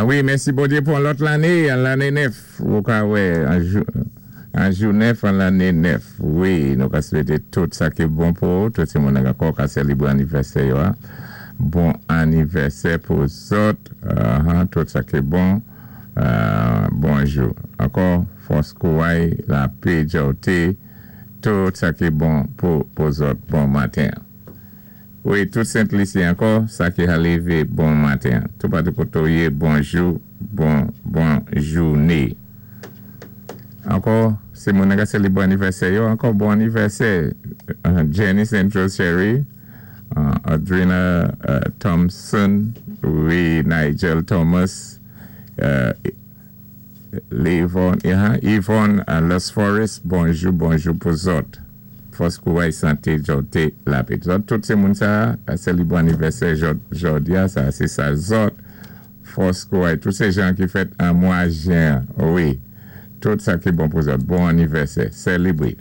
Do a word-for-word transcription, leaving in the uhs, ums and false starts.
A wi, mèsi Bondyé pou lòt lanné, an lanné nèf. Ou ka wè, an jou, an jou nèf, an lanné nèf. Wi, nou ka swété tout sa ki bon pou, tout sé moun ankò ka sélibwé anivèsè yo, an. Bon anivèsè pou zòt, uh, tout sa ki bon. Euh, bonjou. Ankò, fòs kouway, lapé, djòté, tout sa ki bon pou, pou zòt. Bon maten. Wi, tout Sent Lisi ankò, sa ki a lévé bon maten. Tout patou koté ou yé, bonjou, bon, bon jouné. Ankò, sé moun ka sélibwé anivèsè yo, ankò bon anivèsè. Uh, Jenny Central Cherry, uh, Adrina uh, Thompson, wi, Nigel Thomas, uh, Levon, uh, Yvonne uh, Los Forest, bonjou, bonjou pou zòt. Fòs kouway, santé, djòté, lapé. Zòt, tout sé moun sa, sélibwé anivèsè jòdi a, sa, sé sa zòt. Fòs kouway, tout sé jan ki fèt an mwa jen, wi. Tout sa ki bon pou zòt. Bon anivèsè, sélibwé.